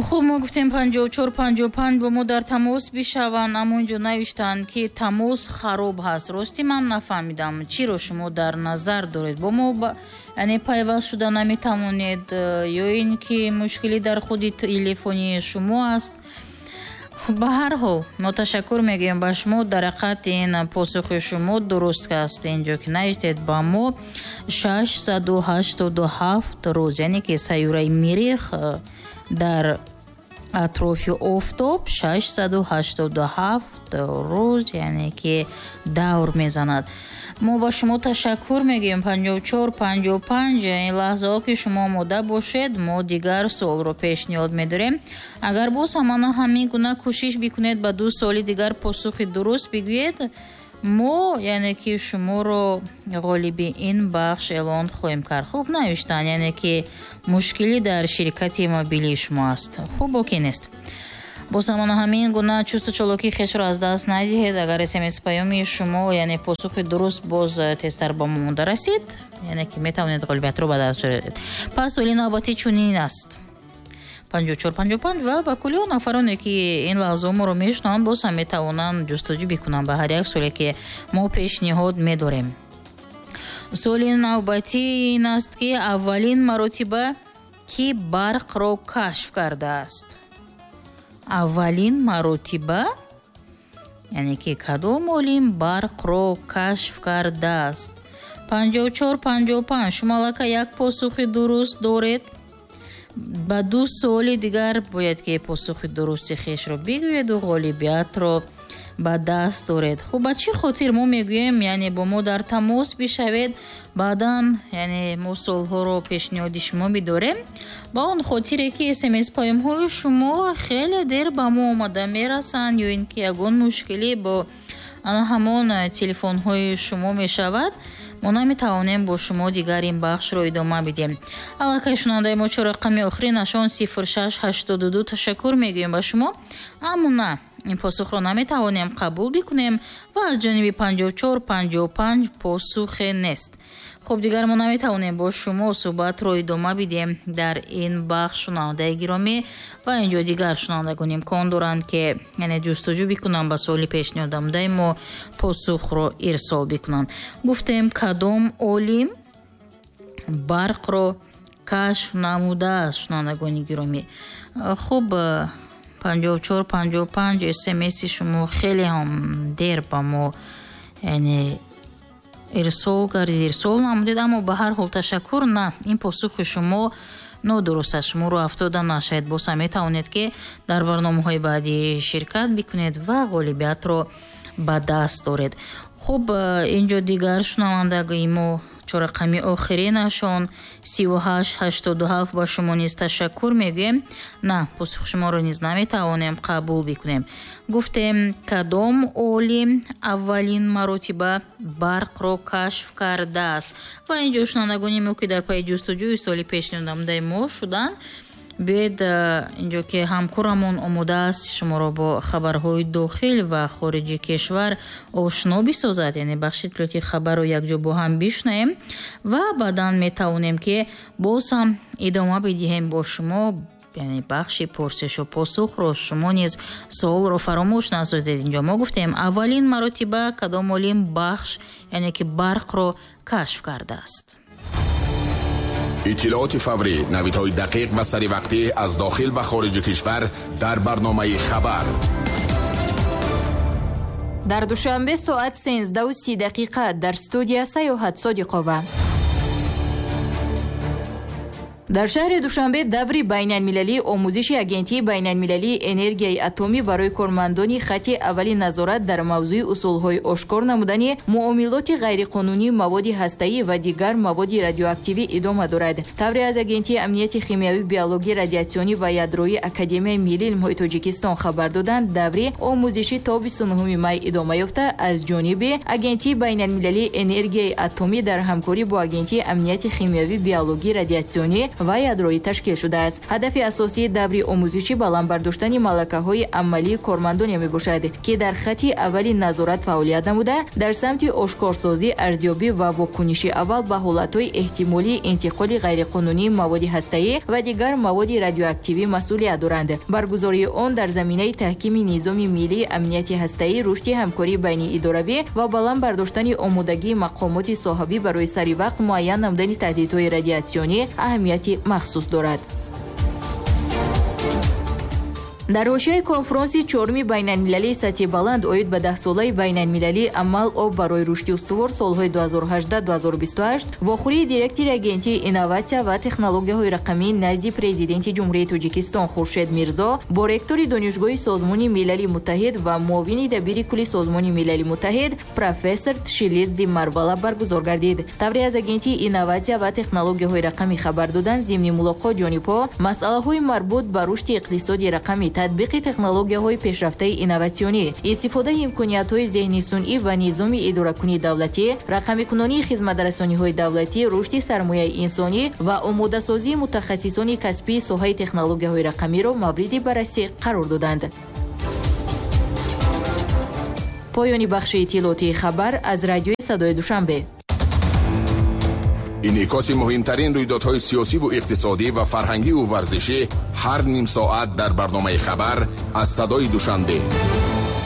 Хуб, мо гуфтем 54 55 бо мо дар тамос бишаванд, аммо инҷо навиштанд, ки тамос хароб ҳаст. Рости, ман нафаҳмидам, чиро шумо дар назар доред. Бо мо, яъне, пайваст шуда наметавонед ё ин ки мушкилӣ дар худи телефони шумо аст? Ба ҳар ҳол, мо ташаккур мегӯем ба шумо. Дар ҳақиқат, ин посухи шумо дуруст аст. Инҷо ки навиштед ба мо 687 рӯз, яъне ки сайёраи Мирих дар атрофи офтоб 687 рӯз, яъне ки, давр мезанад. Мо ба шумо ташаккур мегӯем. 54 55. Ин лаҳзаҳо ки шумо омода бошед, мо дигар суолро пешниҳод медорем. Агар боз ҳамана ҳамин гуна кӯшиш бикунед, ба ду суоли дигар посухи дуруст бигӯед, мо, яъне ки, шуморо ғолиби ин бахш эълон хоҳем кард. Хуб, навиштан, яъне ки, мушкилӣ дар ширкати мобилии шумо аст. Хуб, боке нест. Боз ҳамона ҳамин гуна чусту чолокии хешро аз даст надиҳед. Агар смс паёми шумо, яъне посухи дуруст, боз тезтар ба мо монда расид, яъне ки метавонед ғолибиятро ба даст оред. Пас суоли навбатӣ чунин аст: 54 55. Ва ба кулли он нафароне, ки ин лаҳзаҳо моро мешунаванд, боз ҳам метавонанд ҷустуҷӯ бикунанд ба ҳар як суоле, ки мо пешниҳод медорем. Суоли навбатӣ ин аст, ки аввалин маротиба кӣ барқро кашф кардааст? Аввалин маротиба, яъне ки, кадом олим барқро кашф кардааст? 54 55. Шумо аллакай як посухи дуруст доред. Ба ду суоли дигар бояд ки посухи дурусти хешро бигӯеду ғолибиятро ба даст доред. Хуб, ба чӣ хотир мо мегӯем, яъне, бо мо дар тамос бишавед, баъдан, яъне, мо суолҳоро пешниҳоди шумо бидорем? Ба он хотире ки смс паёмҳои шумо хеле дер ба мо омада мерасанд ё ин ки ягон мушкилӣ бо ана ҳамон телефонҳои шумо мешавад, мо наметавонем бо шумо дигар ин бахшро идома бидиҳем. Аллакай шунавандаи мо, чор рақами охиринашон 0682, ташаккур мегӯем ба шумо, аммо на, ин посухро наметавонем қабул бикунем ва аз ҷониби 54 55 посухе нест. Хуб, дигар мо наметавонем бо шумо суҳбатро идома бидиҳем дар ин бахш, шунавандаи гиромӣ. Ва инҷо дигар шунавандагон имкон доранд, ки, яъне, ҷустуҷӯ бикунанд, ба суоли пешниҳодамудаи мо посухро ирсол бикунанд. Гуфтем, кадом олим барқро кашф намудааст, шунавандагони гиромӣ? Хуб, 54 55, смси шумо хеле ҳам дер ба мо, яъне, ирсол гардид, ирсол намудед, аммо ба ҳар ҳол ташаккур. На, ин посухи шумо нодуруст аст. Шумо рӯ афтода нашавед, боз ҳам метавонед, ки дар барномаҳои баъдӣ ширкат бикунед ва ғолибиятро ба даст доред. Хуб, инҷо дигар шунавандаи мо, чоррақами охиринашон 3887, ба шумо низ ташаккур мегӯем. На, посухи шуморо низ наметавонем қабул бикунем. Гуфтем, кадом олим аввалин маротиба барқро кашф кардааст? Ва инҷо шунавандагони мо, ки дар пайи ҷустуҷӯи суоли пешниҳодамудаи мо шуданд, биёед, инҷо ки ҳамкорамон омода аст шуморо бо хабарҳои дохил ва хориҷи кишвар ошно бисозад, яъне бахши иттилоотии хабарро якҷо бо ҳам бишунавем ва баъдан метавонем, ки боз ҳам идома бидиҳем бо шумо, яъне бахши пурсишу посухро. Шумо низ суолро фаромӯш насозед. Инҷо мо гуфтем, аввалин маротиба кадом олим бахш, яъне ки, барқро кашф кардааст? Иттилооти фаврӣ, навидҳои дақиқ ва саривақтӣ аз дохил ва хориҷи кишвар дар барномаи «Хабар». Дар Душанбе соат 13:30. Дар студия Саёҳат Содиқова. Дар шаҳри Душанбе даври байналмилалии омӯзиши Агентии байналмилалии энергияи атомӣ барои кормандони хати аввали назорат дар мавзӯи усулҳои ошкор намудани муомилоти ғайриқонунии маводи ҳастаӣ ва дигар маводи радиоактивӣ идома дорад. Тавре аз Агентии амнияти химиявӣ, биологӣ, радиатсионӣ ва ядроии Академияи миллии илмҳои Тоҷикистон хабар доданд, даври омӯзишӣ то 29 май идома ёфта, аз ҷониби Агентии байналмилалии энергияи атомӣ дар ҳамкорӣ бо Агентии амнияти химиявӣ, биологӣ, радиатсионӣ ва ядроӣ ташкил шудааст. Ҳадафи асосии даври омӯзишӣ баланд бардоштани малакаҳои амалии кормандоне мебошад, ки дар хати аввали назорат фаъолият намуда, дар самти ошкорсозӣ, арзёбӣ ва вокуниши аввал ба ҳолатҳои эҳтимолии интиқоли ғайриқонунии маводи ҳастаӣ ва дигар маводи радиоактивӣ масъулият доранд. Баргузории он дар заминаи таҳкими низоми миллии амнияти ҳастаӣ, рушди ҳамкории байниидоравӣ ва баланд бардоштани омодагии мақомоти соҳавӣ барои саривақт муайян намудани таҳдидҳои радиатсионӣ аҳамияти махсус дорад. Дар ҳошияи конфронси чоруми байналмилалии сатҳи баланд оид ба даҳсолаи байналмилалии амал об барои рушди устувор солҳои 2018-2028 вохӯрии директори Агентии инноватсия ва технологияҳои рақамӣ назди Президенти Ҷумҳурии Тоҷикистон Хуршед Мирзо бо ректори Донишгоҳи Созмони Милали Муттаҳид ва муовини дабири кулли Созмони Милали Муттаҳид профессор Тшилидзи Марвала баргузор гардид. Тавре аз Агентии инноватсия ва технологияҳои рақамӣ хабар доданд, зимни мулоқот ҷонибҳо масъалаҳои марбут ба рушди иқтисоди рақамӣ, татбиқи технологияҳои пешрафтаи инноватсионӣ, истифодаи имкониятҳои зеҳни сунъӣ ва низоми идоракунии давлатӣ, рақамикунонии хизматрасониҳои давлатӣ, рушди сармояи инсонӣ ва омодасозии мутахассисони касбии соҳаи технологияҳои рақамиро мавриди баррасӣ қарор доданд. Поёни бахши иттилоотии хабар аз радиои Садои Душанбе. Инъикоси муҳимтарин рӯйдодҳои сиёсиву иқтисодӣ ва фарҳангиву варзишӣ ҳар ним соат дар барномаи хабар аз Садои Душанбе.